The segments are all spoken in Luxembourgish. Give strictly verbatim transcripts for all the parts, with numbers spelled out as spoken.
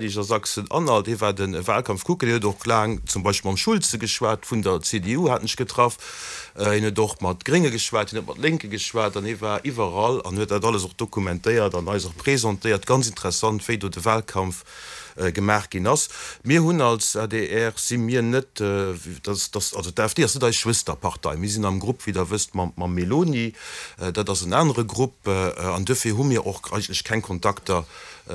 A Sachsen-Anhalt, hie war de Wahlkampf kucken, hien huet och laang zum Beispill mam Schulze geschwat vun der C D U, hat ech getraff, hien huet och mat Grénge geschwat, hien huet mat Lénke geschwat an hie war iwwerall an huet dat alles och dokumentéiert an eis och presentéiert. Ganz interessant, wéi do de Wahlkampf gemaach ginn ass. Mir hunn als A D R si mir net, dass, dass, also d'A F D ass net eis Schwësterpartei. Mir sinn am Grupp, wéi Der wësst, mam, mam Meloni, dat ass en anere Grupp an duerfir hu mir och eigentlech keng Kontakter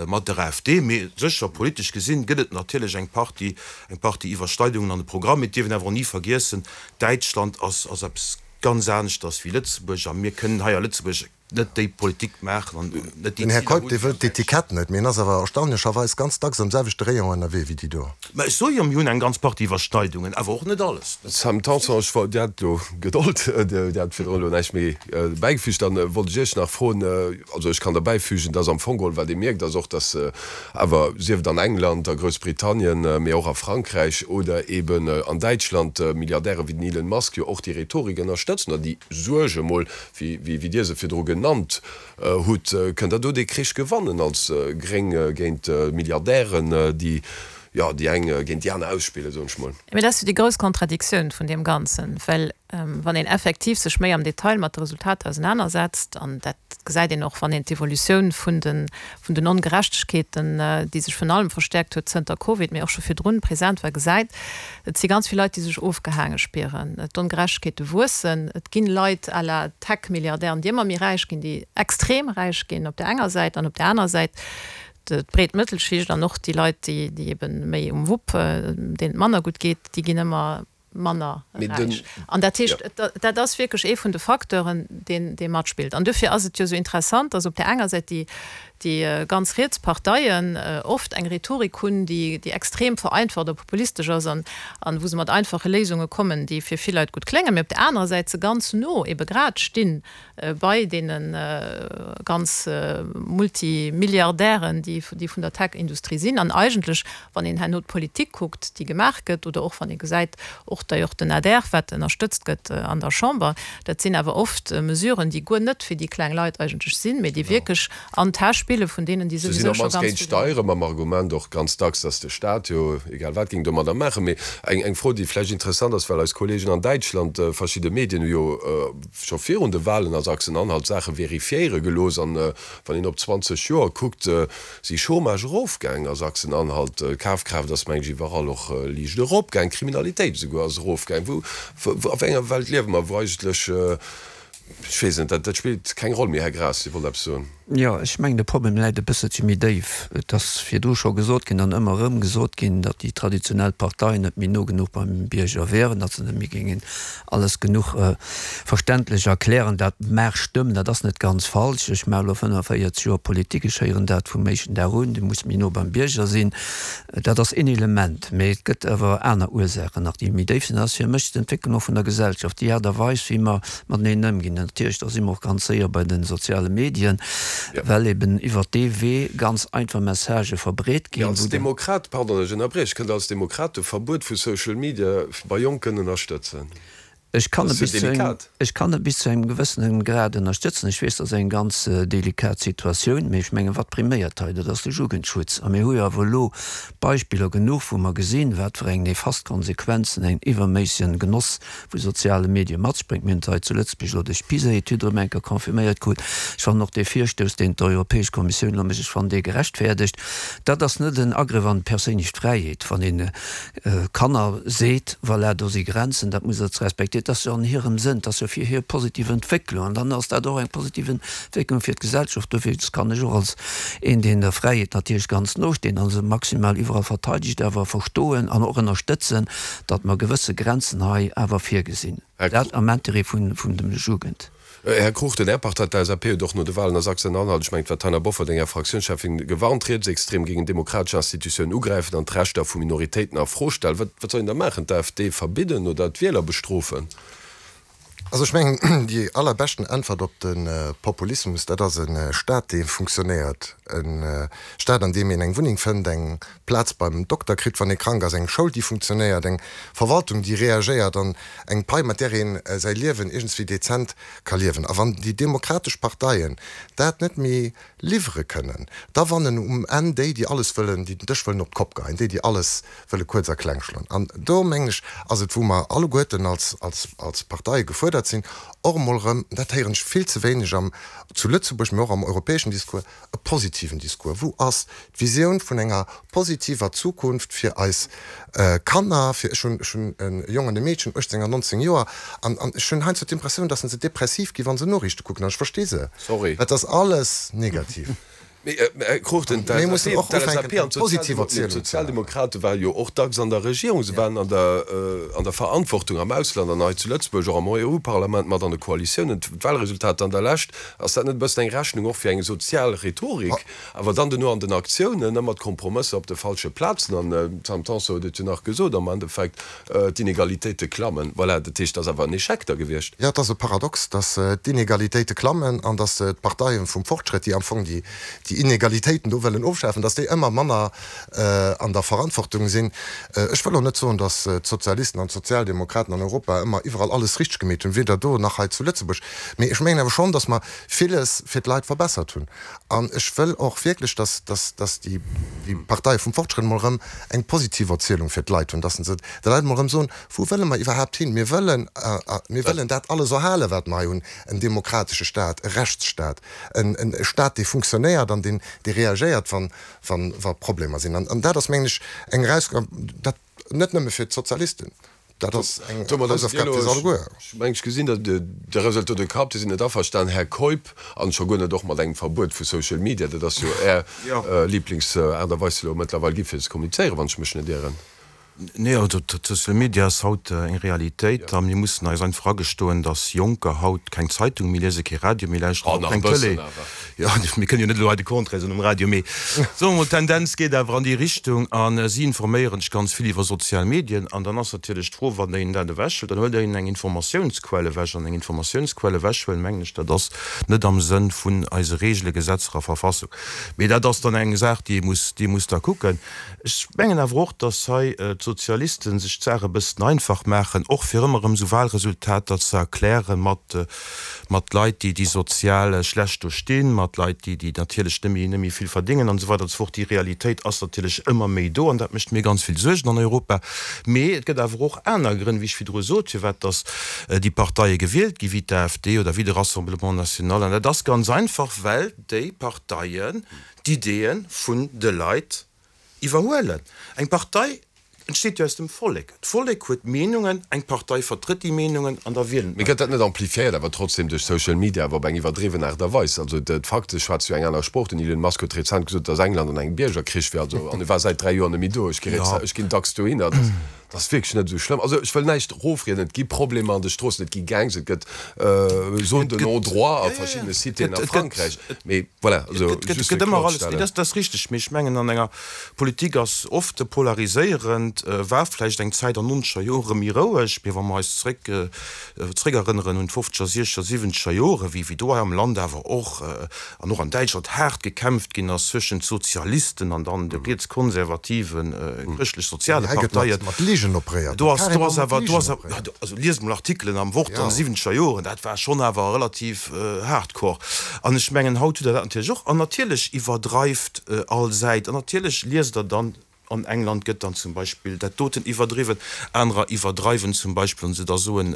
mat der A F D. Mee sécher, politesch gesinn, gëtt et natierlech eng Partie, eng Partie Iwwerschneidungen an de Programm. Mee et dierf een awer och ni vergiessen, Däitschland ass, ass eppes ganz aneschters wéi Lëtzebuerg a mir kënnen hei a Lëtzebuerg net déi Politik maachen an net déi Den Här Ziler Keup, hunn dee wéi wëllt an Däitschland. d'Etikett net, mee en ass awer erstaunlecherweis ganz dacks am selwechte Rayon ënnerwee wéi déi do. Mä ech soe jo, mir hunn eng ganz Partie Iwwerschneidungen, awer och net alles. Sam Tanson, ech wollt, Dir hat elo Gedold, Dir hat virdrun elo näischt méi bäigefügt. Dann wollt ech Iech nach froen, also ech kann derbäifügen, dass am Fong geholl, wat ee mierkt, ass och, dass awer, sief et an England, a Groussbritannien, mee och a Frankräich oder eeben an Däitschland, Milliardäre wéi den Elon Musk jo och déi Rhetorik ënnerstëtzen oder déi Suerg emol, wéi wéi Dir se virdru genannt hutt. Kënnt Der do dee Krich gewannen als Gréng géint Milliardären, déi, jo, déi eng géint déi aner ausspillen, soen ech mol? Mee dat ass jo déi grouss Kontradiktioun vun deem Ganzen, well wann een effektiv sech méi am Detail mat de Resultater ausenanersetzt, an dat gesäit een och, wann een d'Evolutioun vun den, vun den Ongerechtegkeeten, déi sech virun allem verstäerkt huet zënter Covid, mee och scho virdrun present war, gesäit, et si ganz vill Leit, déi sech ofgehaange spieren, d'Ongerechtegkeete wuessen, et ginn Leit à la Tech-Milliardären, déi ëmmer méi räich ginn, déi extrem räich ginn op där enger Säit, an op där aner Säit d'breet Mëttelschicht an och déi Leit, déi, déi ebe méi um Wupp, deenen et manner gutt geet, déi ginn ëmmer manner räich. An dat heescht, dat ass wierklech ee vun de Facteuren, deen, dee matspillt. An dofir ass et jo esou interessant, dass op där enger Säit déi, déi ganz riets Parteien oft eng Rhetorik hunn, déi, déi extrem vereinfacht oder populistesch ass an, an wou se mat einfache Léisunge kommen, déi fir vill Leit gutt kléngen, mee op där anerer Säit se ganz no ebe grad stinn bei deene ganz Multimilliardären, déi, déi vun der Tech-Industrie sinn. An eigentlech, wann een herno d'Politik kuckt, déi gemaach gëtt, oder och wann ee gesäit, och d'ailleurs den A D R, wat ënnerstëtzt gëtt an der Chamber, dat sinn awer oft Mesuren, déi guer net fir déi kleng Leit eigentlech sinn, mee déi wierklech an d'Täsch spille vun deenen, déi Se sinn souwisou op scho d'mannst ganz géint vill hunn. Steiere mam Argument och ganz dacks, datt de Staat jo egal wat géing domadder maachen. Mee eng, eng Fro, déi vläicht interessant ass, well eis Kolleegen an Däitschland, verschidde Medien hu jo scho virun de Wahlen a Sachsen-Anhalt Saache verifiéiere gelooss an wann een op zwanzeg Joer kuckt, si Chômage erofgaang a Sachsen-Anhalt, d'Kafkraaft ass meng ech iwwerall och liicht eropgaang, d'Kriminalitéit esouguer ass erofgaang. Wou, wou, a wéi enger Welt liewe mer, wou eigentlech, ech weess net, dat, dat spillt keng Roll méi? Här Graas, Dir wollt eppes soen. Jo, ech mengen, de Problem läit e bësselche méi déif. Et ass virdru scho gesot ginn an ëmmer erëm gesot ginn, datt déi traditionell Parteien net méi no genuch beim Bierger wären, datt se net méi géingen alles genuch verständlech erklären. Dat mag stëmmen, dat ass net ganz falsch. Ech maache elo fënnefenvéierzeg Joer Politik, ech héieren dat vum éischten Dag un, Du muss méi no beim Bierger sinn. Dat ass een Element, mee et gëtt awer aner Ursaachen nach, déi méi déif sinn. Dat ass fir mech d'Entwécklung och vun der Gesellschaft, déi Aart a Weis, wéi mer mateneen ëmginn. Natierlech, da si mer och ganz séier bei de soziale Medien, well eben iwwert dee Wee ganz einfach Messagë verbreet Mee ginn, als wou de. Demokrat, pardon, ech ënnerbrieche, kënnt Der als Demokrat de Verbuet vu Social Media bei Jonken ënnerstëtzen? Ech kann Dat e ass jo bis zu engem, delikat. ech kann e bis zu engem gewëssene Grad ënnerstëtzen. Ech weess, dat ass eng ganz delikat Situatioun, mee ech mengen, wat priméiert hei? Dat ass de Jugendschutz. A mir hu jo awer elo Beispiller genuch, wou mer gesinn, wat fir eng nefast Konsequenzen en iwwerméissegen Genoss vu soziale Medie mat sech bréngt. Mir hunn et hei zu Lëtzebuerg elo duerch d'PISA-Etüd erëm eng Kéier confirméiert krut. Ech fannen och dee Virstouss, deen d'Europäesch Kommissioun elo mécht, ech fannen dee gerechtfäerdegt. Dat ass net en Agrëff an d'perséinlech Fräiheet, wann een Kanner seet, voilà, do si Grenzen, dat musst Der ze respektieren. Dat ass jo an hirem Sënn, dat ass jo fir hir positiv Entwécklung an dann ass dat och eng positiv Entwécklung fir d'Gesellschaft. Dofir kann ech och als een, deen der Fräiheet natierlech ganz no steet a se maximal iwwerall verteidegt, awer verstoen an och ënnerstëtzen, datt mer gewësse Grenzen hei awer virgesinn, Här dat am Intérêt vun vun dem Jugend. Här Cruchten, Är Partei, d'L S A P, huet och no de Wahlen a Sachsen-Anhalt, ech mengen, et war d'Taina Bofferding, Är Fraktiounscheffin, gewarnt, Rietsextrem géingen demokratesch Institutiounen ugräifen an d'Rechter vu Minoritéiten a Fro stellen. Wat, wat soll een da maachen? D'A F D verbidden oder d'Wieler bestrofen? Also ech mengen, déi allerbeschten Äntwert op de Populismus, dat ass e Staat, dee funktionéiert. E Staat, an deem een eng Wunneng fënnt, eng Plaz beim Dokter kritt, wann ee krank ass, eng Schoul, déi funktionéiert, eng Verwaltung, déi reagéiert an eng Pai, mat där een säi Liewen iergendswéi dezent ka liewen. A wann déi demokratesch Parteien dat net méi liwwere kënnen, da wannen um Enn déi, déi alles wëllen, déi den Dësch wëllen op d'Kopp geheien, déi, déi alles wëlle kuerz a kleng schloen. An do, mengen ech, ass et, wou mer alleguerten als, als, als Parteie gefuerdert sinn, och emol erëm, dat héieren ech vill ze wéineg am, zu Lëtzebuerg, mee och am europäeschen Discours, e positiven Discours. Wou ass d'Visioun vun enger positiver Zukunft fir eis Kanner, fir, ech hunn, ech hunn e Jong an e Meedchen, uechtzéng an nonzéng Joer, an, an ech hunn heiansdo d'Impressioun, dass se depressiv gi wa se Noriichte kucken, an ech versti se, Sorry. Et ass alles negativ. Mee, Här Cruchten, Mir mussen och d'L S A P ufänken, an eng positiv Erzielung ze maachen. d'Sozialdemokrate ware jo och dacks an der Regierung, se waren an der, an der Verantwortung am Ausland an hei zu Lëtzebuerg, och am Eu-Parlament mat an de Koalitiounen. D'Wahlresultater an der Lescht, ass dat net e bëssen eng Rechnung och fir eng sozial Rhetorik, awer dann duerno an den Aktiounen ëmmer d'Kompromësser op de falsche Plazen? An d'Sam Tanson huet et jo nach gesot, am Endeffekt, d'Inegalitéite klammen. Voilà, dat heescht, dat ass awer en Echec da gewiescht. Jo, et ass e Paradox, datt d'Inegalitéite klammen an datt d'Parteie vum Fortschrëtt, déi am Fong déi Inegalitéiten do wëllen ofschafen, datt déi ëmmer manner an der Verantwortung sinn. Ech wëll och net soen, datt d'Sozialisten an d'Sozialdemokraten an Europa ëmmer iwwerall alles richteg gemeet hunn, weder do nach hei zu Lëtzebuerg. Mee ech mengen awer schonn, datt mer villes fir d'Leit verbessert hunn. An ech wëll och wierklech, datt, datt, datt déi, déi Parteie vum Fortschrëtt emol erëm eng positiv Erzielung fir d'Leit hunn, datt se de Leit emol erëm soen, Wou wëlle mer iwwerhaapt hin? Mir wëllen, mir wëllen dat alles erhalen, wat mer hei hunn, en demokratesche Staat, e Rechtsstaat, en, en Staat, dee funktionéiert an deen, dee reagéiert, wann, wann, wa Problemer sinn. An, an dat ass, mengen ech, eng Erausgabe, dat net nëmme fir d'Sozialisten, dat ass eng Hausaufgab fir eis alleguer. Ech mengen, ech gesinn, datt de Resultat de Kapp, Dir sidd net averstanen, Här Keup, an scho guer net och mat engem Verbuet vu Social Media. Dat ass jo Är Lieblingsaart a Weis elo mëttlerweil gi fir ze kommunizéieren, wann ech mech net ieren. Nee, also d'Social Media ass haut eng Realitéit a mir mussen eis einfach agestoen, dass Jonker haut keng Zeitung méi liesen, kee Radio méi lauschteren, och keng Tëlee. Jo, mir kënnen jo net elo hei de Contraire soen um Radio, mee soe mer mol, d'Tendenz geet awer an déi Richtung a si informéieren sech ganz vill iwwer sozial Medien. An dann ass natierlech d'Fro, wann Der hinnen dat ewechhuelt, dann huelt Der hinnen eng Informatiounsquell ewech. An eng Informatiounsquell ewechhuelen, mengen ech, dat ass net am Sënn vun eise Reegelen, Gesetzer a Verfassung. Mee dat ass dann eng Saach, déi ee muss, déi ee muss da kucken. Ech mengen awer och, dass hei d'Sozialisten sech d'Saach e bëssen einfach maachen, och fir ëmmer erëm esou Wahlresultater ze erklären mat, mat Leit, déi, déi sozial schlecht do stinn, mat Leit, déi, déi natierlech net méi, net méi vill verdéngen an esou weider an esou fort. Déi Realitéit ass natierlech ëmmer méi do an dat mécht mir ganz vill Suergen an Europa. Mee et gëtt awer och aner Grënn, wéi ech virdru sot, firwat dass déi Parteie gewielt gi wéi d'AfD oder wéi de Rassemblement national. An dat ass ganz einfach, well déi Parteien d'Ideeë vun de Leit iwwerhuelen. Eng Partei entsteet jo aus dem Vollek. D'Vollek huet Meenungen, eng Partei vertrëtt déi Meenungen an da wielen Mee d'Leit. gëtt dat net amplifiéiert awer trotzdem duerch Social Media, awer op eng iwwerdriwwen Aart a Weis? Also d'Fakte schwätze jo eng aner Sprooch. Den Elon Musk huet rezent gesot, datt England an engem Biergerkrich wier, also an e war säit dräi Joer net méi do. Ech gi Jo. ech ginn dacks dohinner. Dat ass wierklech net esou schlëmm. Also ech wëll näischt erofrieden, et gi Problemer an de Stroossen, et gi Gangs, et gëtt Zones de non-droit a verschiddene Citéen a Frankräich. Mee voilà, also Et just fir gëtt ëmmer alles, kloerzestellen. dat ass richteg, mee ech mengen an enger Politik ass oft e polariséierend, war vläicht eng Zäit an nonzeger Jore méi roueg, mee wa mer eis zréck zréckerënneren un d'fofzeger, siechzeger, siwwenzeger Jore, wéi wéi do hei am Land awer och an och an Däitschland haart gekämpft ginn ass zwëschent Sozialisten an dann de rietskonservativen chrëschtlech-soziale Hei gëtt Parteien. mat Ligen operéiert, Do ass do carrément ass mat awer do Ligen ass operéiert. also liest mol Artikelen am Wort an Jo. de siwwenzeger Joren, dat war schonn awer relativ hardcore. An ech mengen, haut hutt Der dat natierlech och. An natierlech iwwerdreift all Säit. An natierlech liest Der dann, an England gëtt dann zum Beispill dat doten iwwerdriwwen, anerer iwwerdreiwen zum Beispill, wann se da soen,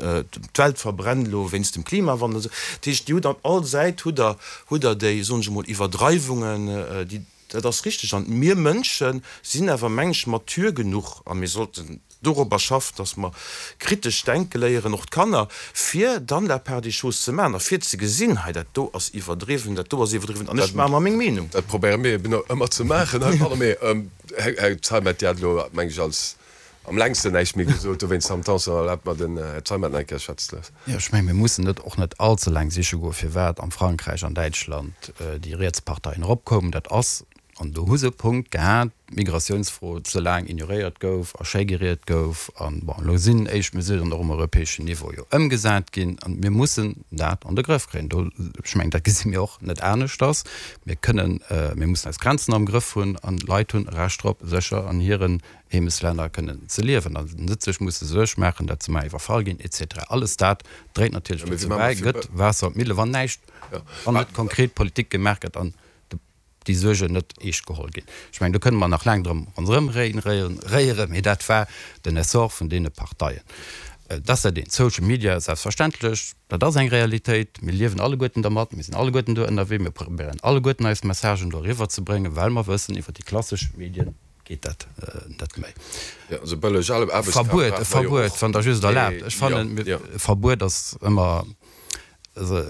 d'Welt verbrennt elo wéinst dem Klimawandel. Dat heescht, Dir hutt an all Säit hutt Der, hutt Der déi, soen ech emol, Iwwerdreiwungen, déi, dat ass richteg. An mir Mënsche sinn awer, meng ech, mature genuch a mir sollten dorobber schaffen, dass mer kritesch denke léieren, och d'Kanner, fir dann la part des choses ze maachen a fir ze gesinn, hei dat do ass iwwerdriwwen, dat do ass iwwerdriwwen an ech maache mer meng Meenung. Dat probéiere mir eben ëmmer ze maachen heibannen. Mee, Här Zeimet, Dir hat elo, meng ech, als am längsten näischt méi gesot, dowéinst am Temps, erlaabt mer den Här Zeimet nach eng Kéier schwätzen ze loossen. Jo, ech mengen, mir mussen net och net allze laang siche goen, firwat am Frankräich an Däitschland déi riets Parteien eropkoumen. Dat ass An do hu se e Punkt gehat, d'Migratiounsfro ze laang ignoréiert gouf a schéi geriet gouf. An, bon, elo sinn éischt Mesuren och um europäeschen Niveau jo ëmgesat ginn. An mir mussen dat an de Grëff kréien. Do, ech mengen, dat gesi mir och net aneschters. Mir kënnen, mir mussen eis Grenzen am Grëff hunn an d'Leit hunn e Recht drop, sécher an hiren Heemeslänner kënnen ze liewen an net sech musse Suerg maachen, datt se mar iwwerfall ginn et cetera. Alles dat dréit natierlech dozou bäi, gëtt Waasser op d'Mille, wann näischt, wann net konkret Politik gemaach gëtt an déi Suergen net eescht geholl ginn. Ech mengen, do kënne mer nach laang drëm ronderëm réieren, mee dat war den Essor vun deene Parteien. Dat ass dat eent. Social Media, selbstverständlech, dat ass eng Realitéit. Mir liewen alleguerten dermat, mir sinn alleguerten do ënnerwee, mir probéieren alleguerten eis Messagen do eriwwer ze bréngen, well mer wëssen, iwwer déi klassesch Medien geet dat net méi. Verbuet, e Verbuet, wann Der just erlaabt, ech fannen, e Verbuet ass ëmmer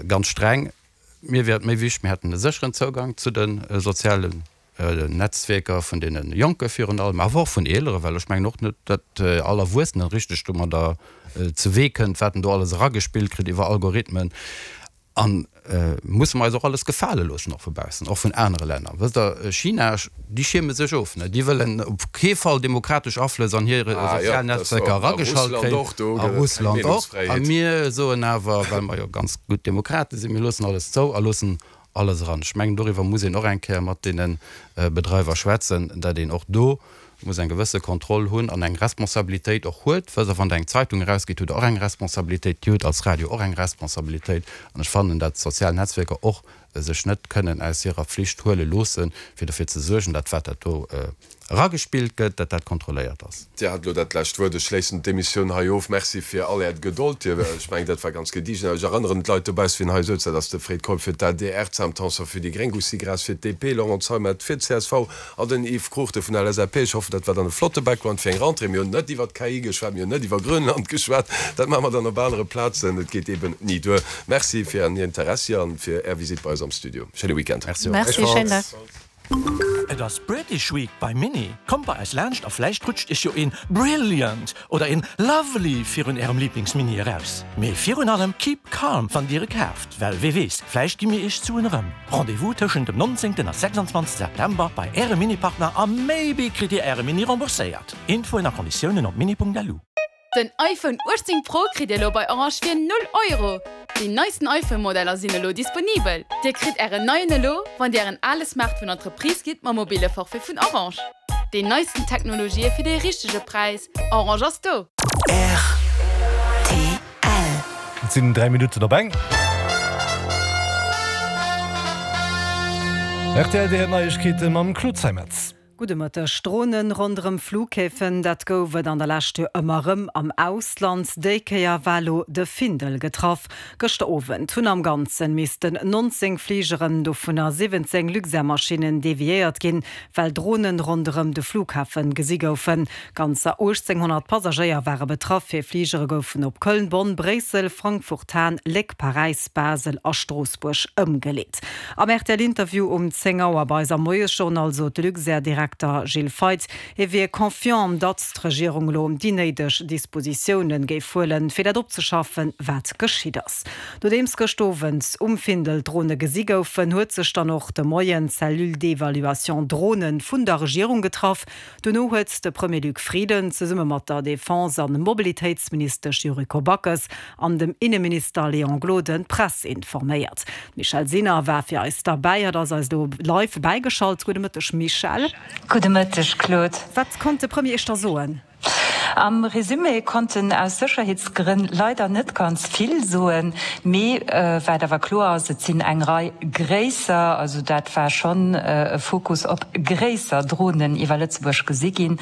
ganz streng. Mir wier et méi wichteg, mir hätten e sécheren Zougang zu de sozialen Netzwierker vun deene Jonke virun allem, awer och vun Eelere, well ech mengen och net, datt all Erwuessenen richteg domadder zu Wee kënnt, wat en do alles eragespillt kritt iwwer Algorithmen. A musse mer eis och alles gefale loossen, och vu baussen, och vun anere Länner. Wësst Der, China, déi schierme sech of, ne? Déi wëllen op kee Fall demokratesch Aflëss an hir sozial Netzwerker erageschalt kréien, a Russland och. A mir soen awer, well mer jo ganz gutt Demokrate sinn, mir loossen alles zou a loossen alles eran. Ech mengen, doriwwer muss een och eng Kéier mat deene Bedreiwer schwätzen, datt een och do muss eng gewësse Kontroll hunn an eng Responsabilitéit och huet. Wësst Der, wann Der eng Zeitung erausgitt, hutt Der och eng Responsabilitéit, Dir hutt als Radio och eng Responsabilitéit. An ech fannen, datt d'sozial Netzwierker och sech net kënnen aus hirer Pflicht huele loossen, fir dofir ze suergen, datt wat dat do eragespillt gëtt, datt dat kontrolléiert ass. Dir hat elo dat lescht Wuert. Ech schléissen d'Emissioun hei of. Merci fir all Äert Gedold. Dir, ech mengen, dat war ganz gediegen. Ech erënneren d'Leit dobauss, wien hei souz, dat ass de Fred Keup fir d'ADR, d'Sam Tanson fir déi gréng, Gusty Graas fir d'DP, Laurent Zeimet fir d'CSV an den Yves Cruchten vun der LSAP. Ech hoffen, dat war dann e flotte Background fir eng Rentrée. Mir hunn net iwwer d'KI geschwat, mir hunn net iwwer Grönland geschwat. Dat maache mer dann op anere Plazen. Et geet eeben ni duer. Merci fir Ären Interessi an fir Är Visitt bei eis am Studio. Schéine Weekend. Merci, schéinen Dag. Et ass British Week bei Mini! Kommt bei eis laanscht a vläicht rutscht iech jo een Brilliant oder een Lovely virun ärem Lieblingsmini eraus. Mee virun allem keep calm wann dir e kaaft, well wee weess, vläicht gi mir iech d'Suen erëm. Rendez-vous tëschent dem nonzéngten a sechsundzwanzegste September bei ärem Mini-Partner a maybe kritt dir äre Mini rembourséiert. Infoen a Konditiounen op mini.lu. Den iPhone uechtzéng Pro kritt Dir elo bei Orange fir null Euro! Déi neisten iPhone Modeller sinn elo disponibel. Dir kritt Ären neien elo, wann Dir Ären ale Smartphone an d'Reprise gitt mam mobile Forfait vun Orange. Déi neisten Technologië fir dee richtege Präis, Orange ass do! Rtl. Et sinn dräi Minutten op eng. Rtl, Dir héiert Neiegkeete mam Claude Zeimetz. Gudde Mëtteg. Dronen ronderëm Flughäfen, dat gouf et an der Lescht jo ëmmer erëm am Ausland. Déi Kéier war elo de Findel getraff. Gëschter Owend hunn am Ganzen missten nonzéng Fligeren, dovunner siwwenzéng Luxair-Maschinnen, deviéiert ginn, well Dronen ronderëm de Flughafen gesi goufen. Ganzer uechtzénghonnert Passagéier ware betraff. Hir Fligere goufen op Köln, Bonn, Bréissel, Frankfurt, Hahn, Léck, Paräis, Basel a Stroossbuerg ëmgeleet. Am R T L-Interview um zéng Auer bei eis am Moiesjournal sot de Luxair-Direkter Gilles Feith, hie wier confiant, datt d'Regierung elo déi néideg Dispositioune géif huelen, fir dat opzeschaffen, wat geschitt ass. Nodeems gëscht Owend um Findel Drone gesi goufen, huet sech dann och de Moien d'Cellule d'évaluation Dronen vun der Regierung getraff. Dono huet de Premier Luc Frieden zesumme mat der Defense an Mobilitéitsministesch Yuriko Backes an dem Inneminister Léon Gloden d'Press informéiert. D'Michèle Sinner war fir eis derbäi, hatt ass eis elo live bäigeschalt. Gudde Mëtteg Michèle. Gudde Mëtteg Claude. Wat konnt de Premier iech da soen? Am Resumé konnt en aus Sécherheetsgrënn leider net ganz vill soen, mee wat awer kloer ass, et sinn eng Rei gréisser, also dat war schonn e Fokus op gréisser Dronen iwwer Lëtzebuerg gesi ginn.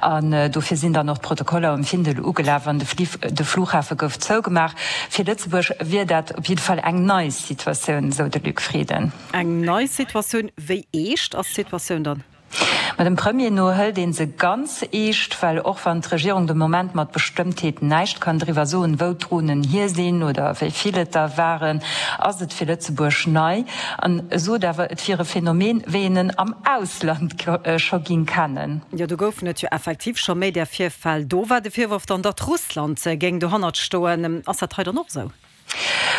An dofir sinn dann och d'Protokoller um Findel ugelaf an de Flughafe gouf zougemaach. Fir Lëtzebuerg wier dat op jidde Fall eng nei Situatioun, esou de Luc Frieden. Eng nei Situatioun? Wéi eescht ass d'Situatioun dann? Ma dem Premier no hëlt ee se ganz eescht, well och wann d'Regierung de Moment mat Bestëmmtheet näischt kann driwwer soen, wou d'Dronen hier sinn oder wéi vill et der waren, ass et fir Lëtzebuerg nei. An e sot awer, et wier e Phänomen, wéi een en am Ausland scho ging kennen. Jo, do goufen et jo effektiv scho méi där Virfäll. Do war de Virworf dann, datt Russland géing dohannert stoen. Ass dat hei dann och esou?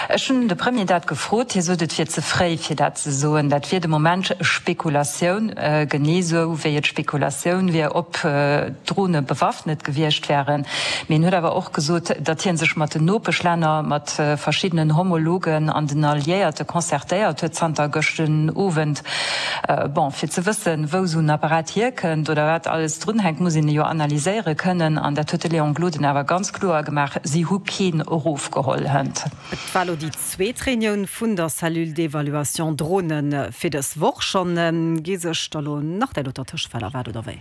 Ech hunn de Premier dat gefrot. Hie sot, et wier ze fréi, fir dat ze soen. Dat wier de Moment Spekulatioun, genee esou wéi et Spekulatioun wier, ob d'Drone bewaffnet gewiescht wären. Mee en huet awer och gesot, datt hie sech mat den Nopeschlänner, mat verschiddenen Homologen an den Alliéierte concertéiert huet zanter gëschten Owend. Bon, fir ze wëssen, wou esou en Apparat hierkënnt oder wat alles drunhänkt, muss een e jo analyséiere kënnen. An dat huet de Léon Gloden awer ganz kloer gemaach, Si hu keen erofgeholl hënt. Et war elo déi zweet Reunioun vun der Cellule d'évaluation Dronen fir dës Woch schonn. Gi sech da lo nach déi doter Tëschefäll erwaart oder wéi?